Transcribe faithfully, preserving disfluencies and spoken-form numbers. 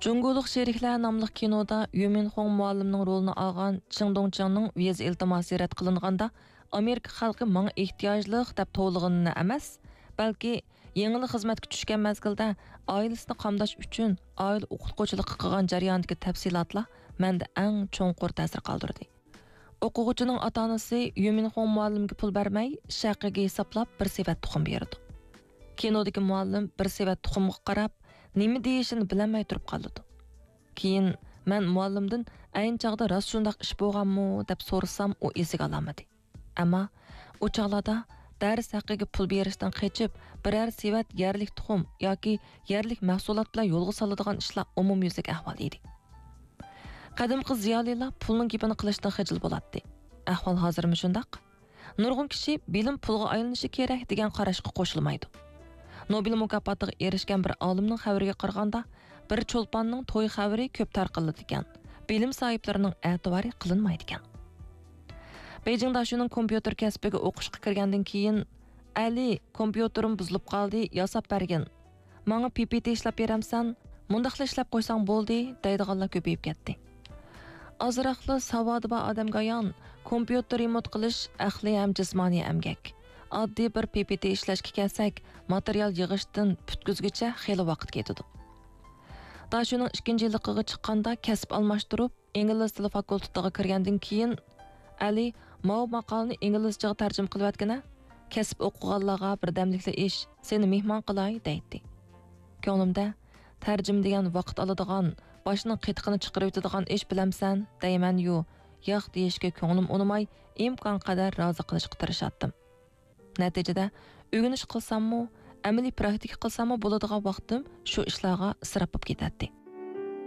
جۇڭگولۇق شېرىكلەر ناملىق كىنودا يۈمىنخۇڭ مۇئەللىمنىڭ رولىنى ئالغان چېڭ دۇڭچىڭنىڭ ۋىزا ئىلتىماسى رەت قىلىنغاندا، ئامېرىكا خەلقى ماڭا ئېھتىياجلىق دەپ توۋلىغىنىنى ئەمەس، بەلكى يېڭىلا خىزمەتكە چۈشكەن مەزگىلدە ئائىلىسىنى قامداش ئۈچۈن ئائىلە ئوقۇتقۇچىلىقى قىلغان جەريانىدىكى تەپسىلاتلار مەندە ئەڭ چوڭقۇر تەسىر قالدۇردى. ئوقۇغۇچىنىڭ ئاتا-ئانىسى يۈمىنخۇڭ مۇئەللىمگە پۇل بەرمەي، شەقىگە ھېسابلاپ بىر سېۋەت تۇخۇم بېرىدۇ. كىنودىكى مۇئەللىم بىر سېۋەت تۇخۇمغا قاراپ، نېمە دېيىشىنى بىلەلمەي تۇرۇپ قالىدۇ. كېيىن مەن مۇئەللىمدىن ئەينى چاغدا راست شۇنداق ئىش بولغانمۇ دەپ سورىسام، ئۇ ئېسىگە ئالالمىدى. ئەمما ئۇ چاغلاردا دەرس ھەققىگە پۇل بېرىشتىن قېچىپ، بىرەر سېۋەت يەرلىك تۇخۇم ياكى يەرلىك مەھسۇلات بىلەن يولغا سالىدىغان ئىشلار ئومۇميۈزلۈك ئەھۋال ئىدى. قەدىمكى زىيالىيلار پۇلنىڭ گېپىنى قىلىشتىن خىجىل بولاتتى. ئەھۋال ھازىرمۇ شۇنداق. نۇرغۇن كىشى بىلىم پۇلغا ئايلىنىشى كېرەك دېگەن قاراشقا قوشۇلمايدۇ. نوبېل مۇكاپاتىغا ئېرىشكەن بىر ئالىمنىڭ خەۋىرىگە قارىغاندا، بىر چولپاننىڭ توي خەۋىرى كۆپ تارقىلىدىكەن، بىلىم ساھىبلىرىنىڭ ئەتىۋارى قىلىنمايدىكەن. بېيجىڭ داشۈنىڭ كومپيۇتېر كەسپىگە ئوقۇشقا كىرگەندىن كېيىن، ئەلى، كومپيۇتېرىم بۇزۇلۇپ قالدى، ياساپ بەرگىن. ماڭا پىپىتى ئىشلەپ بېرەمسەن؟ مۇنداقلا ئىشلەپ قويساڭ بولدى، دەيدىغانلار كۆپىيىپ كەتتى. ئازراقلا ساۋادى بار ئادەمگە ئايان، كومپيۇتېر رېمونت قىلىش ئەقلىي ھەم جىسمانىي ئەمگەك. ئاددىي بىر پىپىتى ئىشلەشكە كەلسەك، ماتېرىيال يىغىشتىن پۈتكۈزگۈچە خېلى ۋاقىت كېتىدۇ. داشۈنىڭ ئىككىنچى يىللىقىغا چىققاندا كەسىپ ئالماشتۇرۇپ، ئىنگلىز تىلى فاكۇلتېتىغا كىرگەندىن كېيىن، ئەلى، ماۋۇ ماقالىنى ئىنگلىزچىغا تەرجىمە قىلىۋەتكىنە، كەسىپ ئوقۇغانلارغا بىردەملىكلا ئىش، سېنى مېھمان قىلاي، دەيتتى. كۆڭلۈمدە، تەرجىمە دېگەن ۋاقىت ئالىدىغان، باشنىڭ قېتىقىنى چىقىرىۋېتىدىغان ئىش بىلەمسەن، دەيمەن-يۇ، ياق دېيىشكە كۆڭلۈم ئۇنىماي، ئىمكانقەدەر رازى قىلىشقا تىرىشاتتىم. نەتىجىدە، ئۆگىنىش قىلساممۇ، ئەمەلىي پراكتىكا قىلساممۇ بولىدىغان ۋاقتىم شۇ ئىشلارغا ئىسراپ بولۇپ كېتەتتى.